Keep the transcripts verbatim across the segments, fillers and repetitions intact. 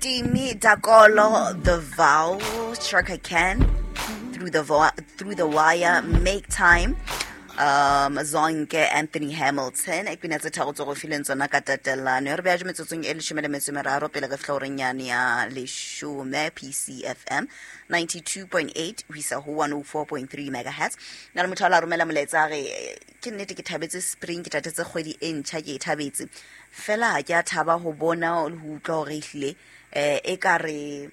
Timi Dakolo, The Vow, Chaka Khan, Through the Vo- Through the Wire, Make Time, um Zonke, Anthony Hamilton. E pina tse tharo tse go fileng tsona ka tatelano. Re beja metsotsong e leshome le metso e meraro pele re fihla horeng yane ya leshome. P C F M ninety-two point eight ho isa ho one oh four point three megahertz. Na le motho a la romela molaetsa a re, eh, ke nnete ke thabetse spring, ke tatetse kgwedi e ntjha, ke e thabetse fela ha ke a thaba ho bona le ho utlwa hore ehlile um e ka re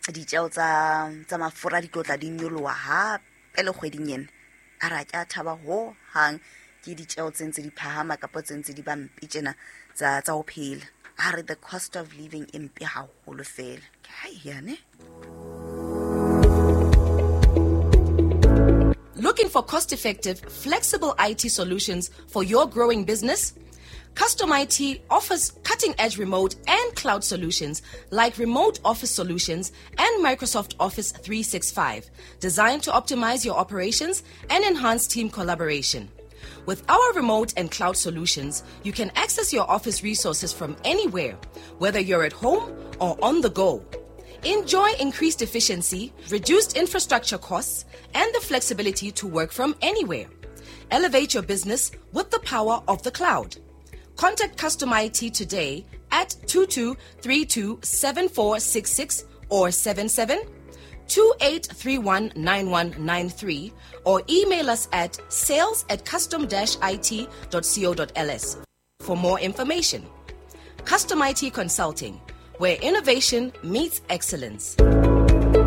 ditjeo tsa tsa mafura di tlo tla di nyoloha hape le kgweding ena. A re ha ke a thaba ho hang ke ditjeo tse ntse di phahama kapa tse ntse di ba mpe tjena tsa tsa ho phela. A re the cost of living e mpe haholo fela. Ke hai yane. Looking for cost effective, flexible I T solutions for your growing business? Custom I T offers cutting edge remote and cloud solutions like remote office solutions and Microsoft Office three sixty-five, designed to optimize your operations and enhance team collaboration. With our remote and cloud solutions, you can access your office resources from anywhere, whether you're at home or on the go. Enjoy increased efficiency, reduced infrastructure costs, and the flexibility to work from anywhere. Elevate your business with the power of the cloud. Contact Custom I T today at two two three two seven four six six or seven seven two eight three one nine one nine three or email us at sales at custom dash it dot co dot L S for more information. Custom I T Consulting, where innovation meets excellence.